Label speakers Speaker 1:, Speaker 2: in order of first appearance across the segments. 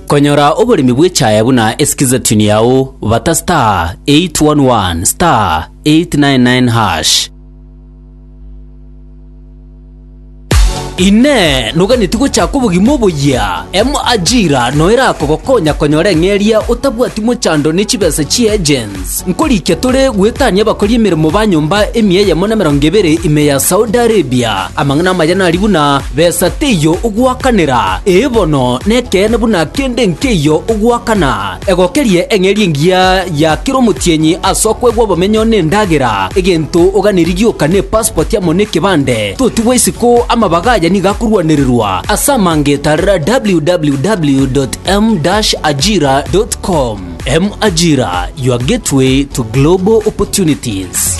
Speaker 1: Konyora oboremi bw'echaye buna esikiza tune yao bata star 811 star 899 hash. Inee! Noganeti gochaka obogima oboyia? M-Ajira noyo erakogokonya konyora eng'eria otabwati mochando ne chibesa chi'agents. Nkorikia tore goetania abakori emeremo ba nyomba emia eyemo na emerongo ebere ime ya Saudi Arabia. Amang'ana amaya nari buna, besa teiyo ogoakanera. Ee bono, nekeene buna kende nkeiyo ogoakana. Egokerie eng'eria engiya ya kera omotienyi ase okoegwa obomenyo na endagera, egento oganerie gioka ne passport amo nekebande. Totigwa isiko amabaga aya nigo akorwanererwa ase amange tarera www.m-ajira.com. M-Ajira, your gateway to global opportunities.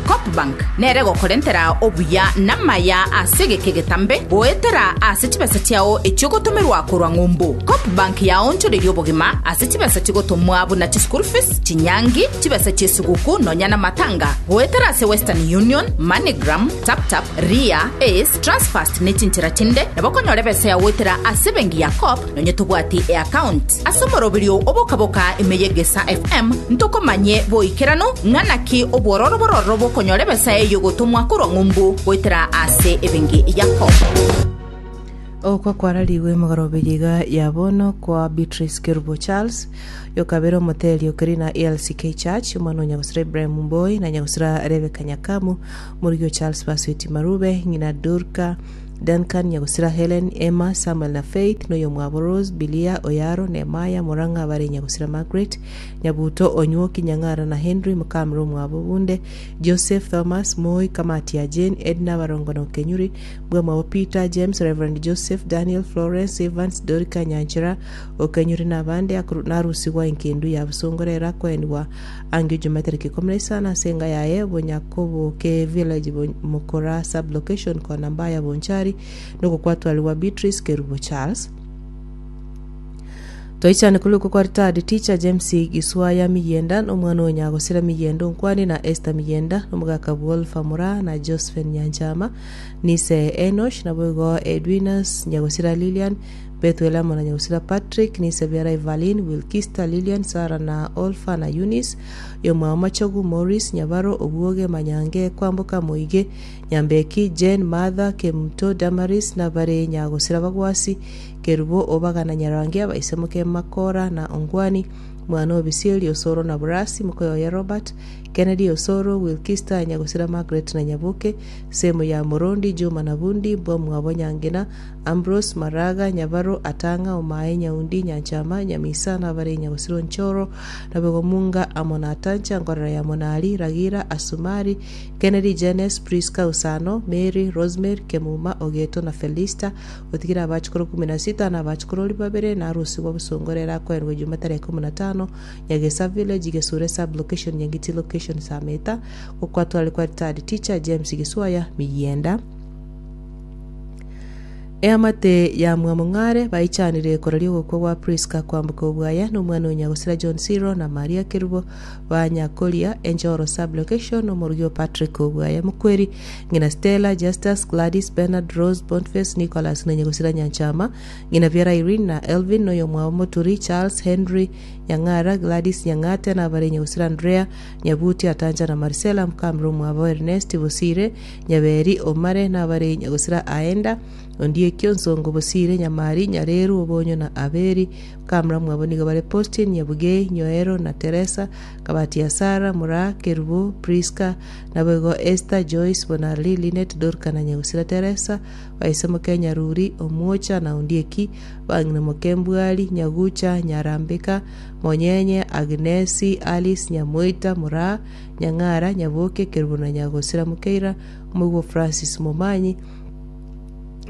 Speaker 2: Coopbank nere egokorentera obuya namaya ase egeka egetambe goetera ase chibesa chiao echio ogotomerwa korwa ng'umbu. Coopbank yaonchoreria obogima ase chibesa chigotomwa buna chischool fees, chinyangi, chibesa chi'esuguku nonya namatanga goetera ase Western Union, MoneyGram, TapTap, Ria, Ace, Transfast ne chinchera chinde nabo okonyora ebesa yao goetera ase ebenki ya Coop Nonye tobwati eaccount ase omoroberio oboka-boka ime y'Egesa FM, ntokomanye boikeranu ng'a naki obwororo bororo bokonyora ebesa ey'ogotomwa korwa ng'umbu goetera ase ebenki ya Coop.
Speaker 3: Ogokwa kwararigwe emegoroberio iga ya bono kwa Beatrice Kerubo Charles, oyokabere omoteri o Kerina ALCK Church, omwana o Nyagosira Ibrahim Mboi na Nyagosira Rebecca Nyakamu, omorugi o Charles Basweti Marube, ng'ina Dorca Duncan, Nyagosira Helen, Emma, Samuel na Faith, na oyomwabo Rose, Bilia, Oyaro, Nehemiah, Murang'a, bare Nyagosira Margaret, Nyabuto, Onywoki, Nyang'ara na Henry, mokamura omwabo Bunde, Joseph, Thomas, Moi, Kamati ya Jane, Edna, Barongo na Okenyuri, mbwamwabo Peter, James, Reverend Joseph, Daniel, Florence, Evans, Dorika, Nyanchera, Okenyuri na abande, akoru narusigwa enkendu ya bosongo rero akoenigwa Angio Juma tariki ikomi na isano ase enga yaye Bonyakoboke Village Mokora Sub-location kona Mbaya Bonchari nogokwatwarigwa Beatrice Kerubo Charles. Twaichane korwa okwo kwa retired teacher James Giswaya Miyienda na omwana o Nyagosira Miyienda Onkwani na Esther Miyienda na omogaka Bwolfa Moraa na Josephine Nyanchama Nise Enosh naboigo Edwinus Nyagosira Lilian Bethuel amo na nyagusira Patrick, Nisebiara Evaline, Wilkista, Lilian, Sarah na Olfa na Eunice, oyomwabo Machogu, Maurice, Nyabaro, Obwoge, Manyange, Kwamboka, Moige, Nyambeki, Jane, Martha, Kemunto, Damaris, nabare nyagosira Bagwasi, Kerubo, Obaga na Nyarangi, abaisemoke Makora na Ongwani, mwana o Bisieri, Osoro na Burasi, mokoyoye Robert, Kennedy, Osoro, Wilkista, nyagosira Margaret na Nyaboke, Semo ya Morondi, Juma na Bundi, mbwamwabo Nyangina, Ambrose, Maraga, Nyabaro, Atang'a, Omae, Nyaundi, Nyanchama, Nyamisa, nabare Nyagosira Onchoro, Naboigo Munga, amo na Atancha, Nkorera ya Monari, Ragira, Asumari, Kennedy, Janes, Prisca, Usano, Mary, Rosemary, Kemuma, Ogeto na Felista, otigire abachukuru kumi na sita na abachukurori babere, na arusigwe obosongo rero akoenigwe Ijuma tarehe ikomi na tano, Nyagesa Village, Gesure Sub-location, Nyangiti Location, Sameta, gokwatware kwa Retired Teacher James Giswaya, Miyienda. Eamate ya Mwamong'are baichanire koraria ogokwa gwa Prisca kwamboka obwaya na omwana o Nyagosira John Siro na Maria Kerubo ba Nyakoria, Enchoro Sub-location, omorugi o Patrick Obwaya Mokweri, ng'ina Stella, Justus, Gladys, Bernard, Rose, Boniface, Nicholas na Nyagosira Nyanchama, ng'ina biara Irene na Elvin na oyomwabo Moturi, Charles, Henry, Nyang'ara, Gladys, Nyang'ate na abare Nyagosira Andrea, Nyabuti, Atanja na Marcella, mokamura omwabo Ernest, Bosire, Nyaberi, Omare, nabare Nyagosira Aenda, Ondiekio, Nsongo, Bosire, Nyamari, Nyareru, Obonyo na Aberi. Bakamura mwabo nigo bare Postin, Nyabugei, Nyoero na Teresa, Kabati ya Sara, Moraa, Kerubo, Priska, naboigo Esther, Joyce, Bonarli, Linet, Dorka na Nyagosira Teresa, baise moke Nyaruri, Omwocha na Ondieki, bang'ina moke Mbwari, Nyagucha, Nyarambeka, Monyenye, Agnesi, Alice, Nyamoita, Moraa, Nyang'ara, Nyaboke, Kerubo na Nyagosira Mokeira, omoigwa o Francis Momanyi,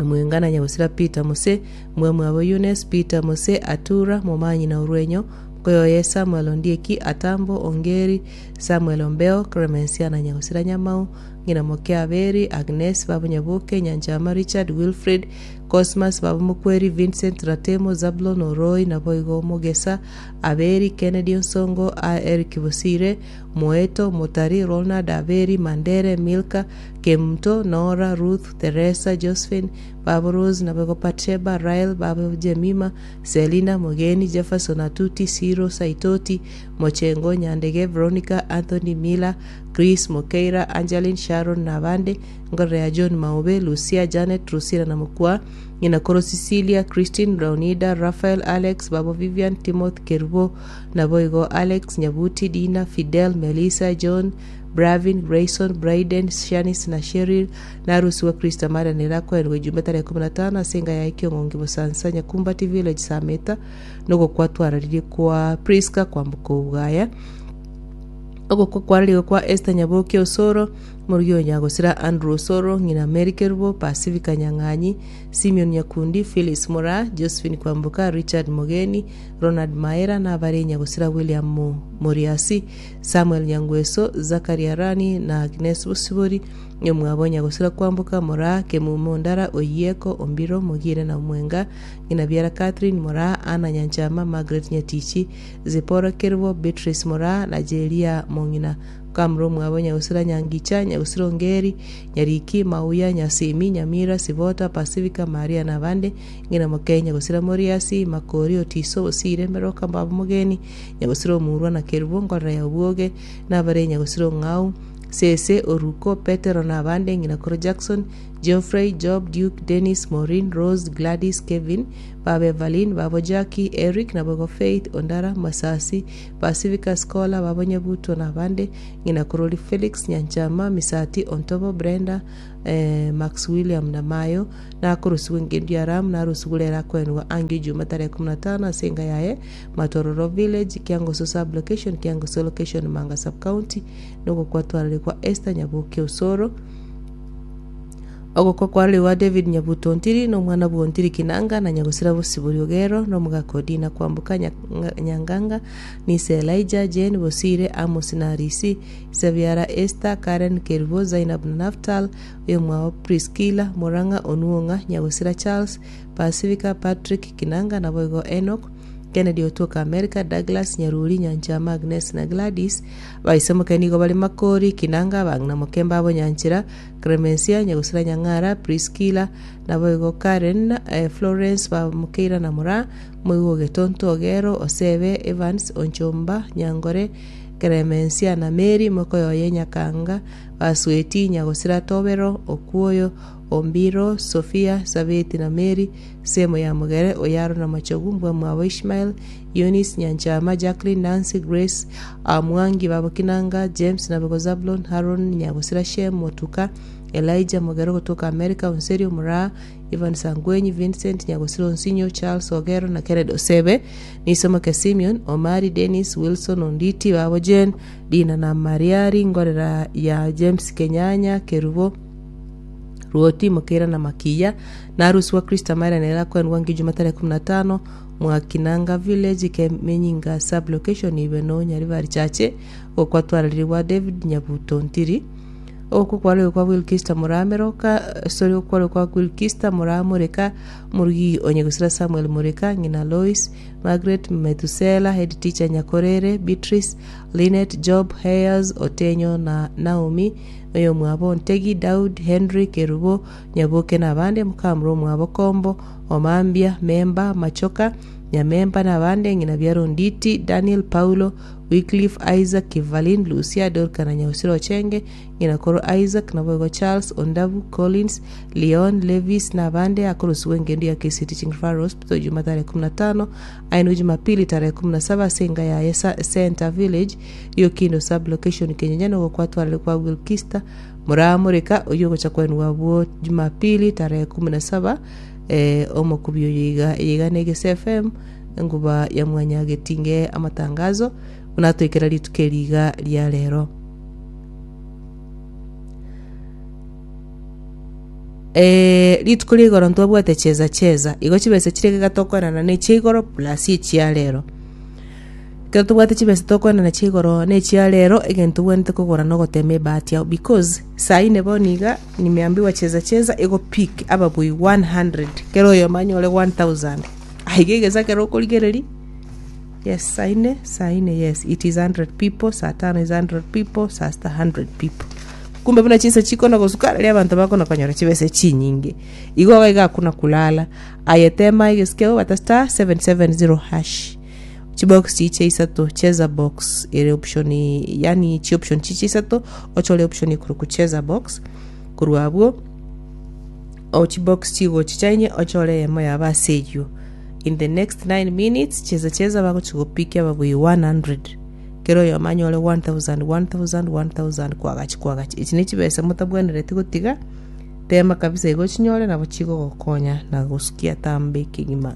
Speaker 3: Omwenga na Nyagosira Peter Mose, mwamwabo Eunice, Peter Mose, Atura, Momanyi na Orwenyo, mokoyoye Samuel Ondieki, Atambo, Ongeri, Samuel Ombeo, Clemencia na Nyagosira Nyamau, ng'ina moke Aberi, Agnes, Babu Nyaboke, Nyanchama, Richard, Wilfred, Cosmas baba Mokweri, Vincent Ratemo, Zablon Oroi, naboigo Mogesa, Aberi, Kennedy Onsongo, a Eric Bosire, Moeto, Motari, Ronald, Aberi, Mandere, Milka, Kemunto, Nora, Ruth, Teresa, Josephine, babo Rose, naboigo Patsheba, Rael, babo Jemima, Selina, Mogeni, Jefferson, Atuti, Siro, Saitoti, Mochengo, Nyandege, Veronica, Anthony, Miller, Chris, Mokeira, Angeline, Sharon, na abande, Nkorera ya John Maobe, Lucia, Janet, Drusilla na Mokua, ng'ina koro Cecilia, Christine, Leonida, Raphael, Alex, babo Vivian, Timothy, Kerubo, naboigo Alex, Nyabuti, Dina, Fidel, Melissa, John, Bravin, Grayson, Brayden, Shanice na Cheryl, narusigwe Krista Maria nere akoenigwa ejumbe tarehe 15 ase enga yaye Kiong'ongi Bosansa Nyakumbati Village Sameta nogokwa twararirie kwa Prisca kwamboka obwaya. Ogokwa kwararigwe kwa Esther Nyaboke Osoro, Morugi o Nyagosira Andrew Osoro, ng'ina Mary Kerubo, Pacifica Nyang'anyi, Simeon Nyakundi, Phyllis Moraa, Josephine Kwamboka, Richard Mogeni, Ronald Maera, na abare Nyagosira William Moriasi, Samuel Nyangweso, Zachary Arani, na Agnes Bosibori, omwabo Nyagosira Kwamboka, Moraa, Kemumo Ondara, Oyieko, Ombiro, Mogire na Omwenga, ng'ina biara Catherine Moraa, Anna Nyanchama, Margaret Nyatichi, Zipporah Kerubo, Beatrice Moraa, na Jeria Mong'ina. Kamura omwabo Nyagusira Nyangicha, Nyagusira Ongeri, Nyariki, Mauya, Nyasimi, Nyamira, Sibota, Pasifika, Maria na abande, ng'ina moke Nyagusira Moriasi, Makori, Otiso, Bosire, Meroka, Mbabo Mogeni, Nyagusira Omurwa na Kerubo, Nkorera ya Obwoge, na abare Nyagusira Ong'au, Sese, Oruko, Petero na abande, ng'ina koro Jackson, Geoffrey, Job, Duke, Dennis, Maureen, Rose, Gladys, Kevin, Baba Evaline, Babo Jackie, Eric, naboigo Faith, Ondara, Masasi, Pasifika, Scholar, Babo Nyabutwa na abande, ng'ina Korori Felix, Nyanchama, Misati, Ontobo, Brenda, eh, Max William na Mayo, nakorusigwe engendu ya Ram, narusigwe rero akoenigwa angio Juma tarehe 15 ase enka yaye, Matororo Village, Kiangoso Sub Location, Kiangoso Location, Manga Sub County, nogokwa kwa Esther Nyaboke Osoro. Ogokwa kwarorigwa David Nyabuto Ontiri, na omwana bw'Ontiri Kinanga, na Nyagosira Bosibori Ogero, na omogaka Odina Kwamboka Nyanganga, Nise Elijah, Jane Bosire, Amos na Arisi, Isabiara Esther, Karen Kerubo, Zainab na Naftal, oyomwabo Priscilla, Morang'a Onuong'a, Nyagosira Charles, Pacifica, Patrick Kinanga, naboigo Enock, Kennedy otoka Amerika, Douglas, Nyaruri, Nyanchama, Agnes na Gladys. Abaisemoke nigo bare Makori, Kinanga, abang'ina Mokemba abo Nyanchera, Clemencia, Nyagusira Nyang'ara, Priscilla, naboigo Karen, Florence, baba Mokeira na Moraa, Moigwa Ogetonto, Ogero, Osebe, Evans, Onchomba, Nyangore, Clemencia na Mary, mokoyoye Nyakanga, Basweti, Nyagosira Tobero, Okuoyo, Ombiro, Sophia, Sabeti na Mary, Semo ya Mogere, Oyaro na Machogu, mbwamwabo Ishmael, Eunice, Nyanchama, Jacqueline, Nancy, Grace, Mwangi, babo Kinanga, James, Nabego Zablon, Haron, Nyagosira Shem, Motuka, Elijah Mogere ogotoka America, Onserio Moraa, Ivan Sangwenyi, Vincent, Nyagosira Onsinyo, Charles Ogero na Kennedy Osebe, Nisomoke Simeon, Omari, Dennis, Wilson, Onditi, babo Jane, Dina na Mariari, Ngorera ya James Kenyanya, Kerubo, Ruoti, Mokeira na Makiya, na Arusi wa Kristo amaira nere akoenigwa ng'ijuma tarehe 15 Mwakinanga Village, Kemenyinga Sub Location, Ibeno, Nyaribari Chache, ogokwa twararire gwa David Nyabuto Ntiri. Ogokwa kwarorire kwa Wilkista Morameroka, sorry, okwarorire kwa Wilkista Moramoreka, omorugi o Nyagusira Samuel Moreka, ng'ina Lois, Margaret Methusela, head teacher Nyakorere, Beatrice, Linet, Job, Hayers, Otenyo na Naomi, Oyomwabo Ontegi, Daud, Henry, Kerubo, Nyaboke na abande, mokamura omwabo Kombo, Omambia, Memba, Machoka, Nyamemba na abande, ng'ina biara Onditi, Daniel, Paulo, Wycliffe, Isaac, Kivalin, Lucia, Dorka na Nyausira Ochenge, ng'ina koro Isaac, naboigo Charles, Ondabu, Collins, Leon, Levis na abande, akorosigwa engendu ya Kisii Teaching Referral Hospital Juma tarehe 15, aenigwe Jumapili tarehe 17 ase enga yaye Center Village, Riokindo Sub-location Kenyenya nigo kwatwarire kwa Wilkista Moramoreka oyio ogocha kwenwa abwo Jumapili tarehe 17 eh, omokubi oyo iga iga na Egese FM enguba ya mwanyagetinge amatangazo buna atoikera rituko eri iga ria rero. Eh, rituko ria igoro ntwabwate cheza cheza igo chibesa chire iga tokoenana na echia igoro plus echia rero. Ekero tobwate chibesa tokoenana chia igoro na echia rero, egento obwenerete kogora nogotema ebahati yao because saa ine bono iga nimeambiwa cheza cheza ego pick ababui 100 kera oyomo anyore 1000 aiga egesa ekero okorigereria yes saa ine saa ine yes it is 100 people saa tano is 100 people saa sita 100 people kumbe buna chinsa chikona gosuka riria abanto bakona konyora chibesa chinyinge igo iga iga hakuna kulala aye tema egesike obata star 770 hash Chibox chiche isato, cheza box ere option yaani chioption chiche isato ochore option ekorokwa cheza box korwa abwo o chibox chigochicha inye ochore eyemo yabo ase eywo in the next 9 minutes cheza cheza bagochi gopikia ababui 100 kera oyomo anyore 1000 1000 1000 kwagachi kwagachi echi ne chibesa motabwenereti gotiga tema kabisa igo ochinyore nabo chigogokonya na gosukia tambe kegima.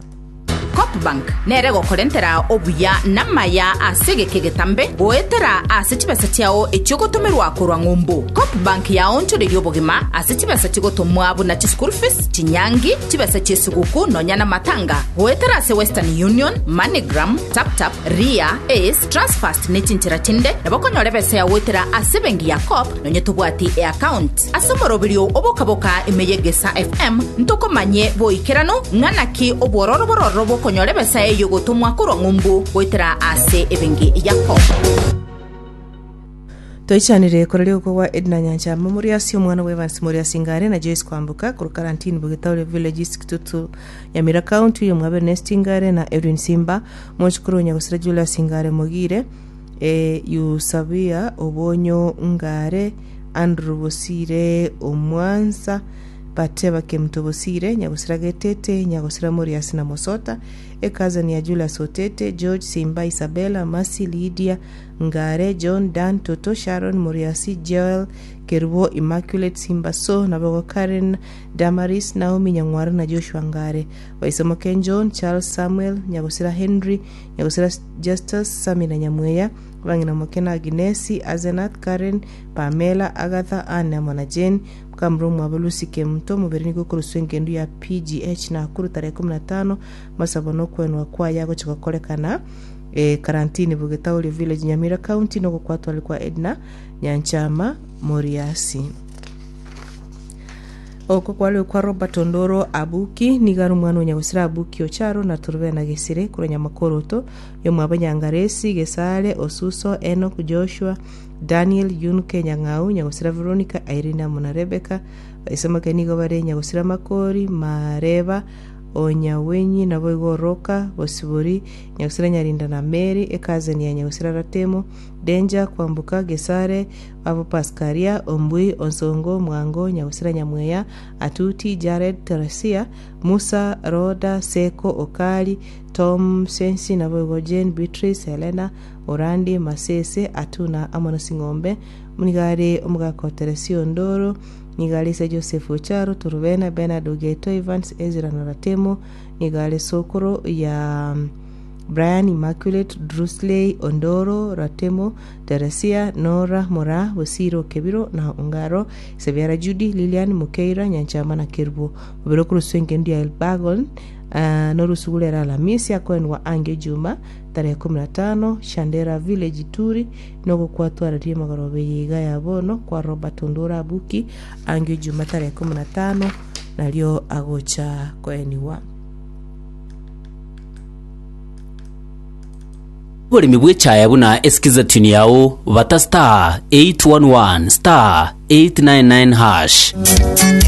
Speaker 2: Coopbank nere egokorentera obuya namaya ase egeka egetambe goetera ase chibesa chiao echio ogotomerwa korwa ng'umbu. Coopbank yaonchoreria obogima ase chibesa chigotomwa buna chischool fees, chinyangi, chibesa chi'esuguku nonya namatanga goetera ase Western Union, MoneyGram, TapTap, Ria, Ace, Transfast ne chinchera chinde nabo okonyora ebesa yao goetera ase ebenki ya Coop nonye tobwati eaccount. Ase omoroberio oboka-boka ime y'Egesaa FM, ntokomanye boikeranu ng'a naki obwororo bororo bokonyora ebesa eyio gotomwa korwa ng'umbu goetera ase ebenki ya Coop.
Speaker 3: Toichanire koraria ogokwa gwa Edna Nyanchama Moriasi, omwana bwa Evans Moriasi Ngare na Joyce Kwamboka korwa Karantini Bogetauri Village East Kitutu Nyamira County, oyo mwabo Ernest Ngare na Edwin Simba, mochokoro o Nyagosira Julius Ngare Mogire, e Yusabia Obonyo Ngare, Andrew Bosire Omwansa, Bateba Kemuto Bosire, Nyagosira Getete, Nyagosira Moriasi na Mosota, Ecousin ya Julius Otete, George Simba, Isabella, Mercy, Lydia, Ngare, John, Dan, Toto, Sharon, Moriasi, Joel, Kerubo, Immaculate, Simba So, naboigo Karen, Damaris, Naomi, Nyang'wara na Joshua Ngare. Baisomoke John, Charles, Samuel, Nyagosira Henry, Nyagosira Justus, Sammy na Nyamweya, Abang'ina moke na Aginesi, Asenath, Karen, Pamela, Agatha, Anne amo na Jane, mokamura omwabo Lucy Kemunto, omobere nigo okoroswa engendu ya PGH Nakuru tarehe 15, amasabo na okwenwa kwaye agochia gokorekana eh, Karantini Bugetauri Village Nyamira County na ogokwatwari kwa Edna Nyanchama Moriasi. Oko kware okwa Robert Ondoro Abuki, nigo are omwana o Nyagosira Abuki Ocharo na Torobena Gesire korwa Nyamakoroto, Yomwabo Nyangaresi, Gesare, Osuso, Enock, Joshua, Daniel, Yunke, Nyang'au, Nyagosira Veronica, Irene amo na Rebecca. Baisomoke nigo bare Nyagosira Makori, Mareba, Onyawenyi, naboigo Oroka, Bosibori, Nyagosira Nyarinda na Mary, ecousin ya Nyagosira Ratemo, Danger, Kwamboka, Gesare, Babo Paskaria, Ombui, Onsongo, Mwango, Nyagosira Nyamweya, Atuti, Jared, Teresia, Musa, Roda, Seko, Okari, Tom, Sensi, naboigo Jane, Beatrice, Helena, Orandi, Masese, Atuna, amo na Sing'ombe, nigo are omogaka o Teresia Ondoro, nigo are ise Joseph Ocharo, Torobena, Bernard Ogeto, Evans, Ezra na Ratemo, nigo are sokoro ya Brian, Immaculate, Drusley, Ondoro, Ratemo, Teresia, Nora, Moraa, Bosire, Okebiro, na Ongaro, Sebiara Judy, Lilian, Mokeira, Nyanchama na Kerubo. Mobere okoroswa engendu ya Elbagon, ah, norusugu rero Alamisi akoenwa ange Juma tarehe 15 Shandera Village Ituri nogokwatwararia emagoroba eye iga ya bono kwa Robert Ondoro Abuki ange Juma tarehe 15 nario agocha koeniwa.
Speaker 1: Oboremi bw'echaya buna esikiza tune yao bata *811 *899#.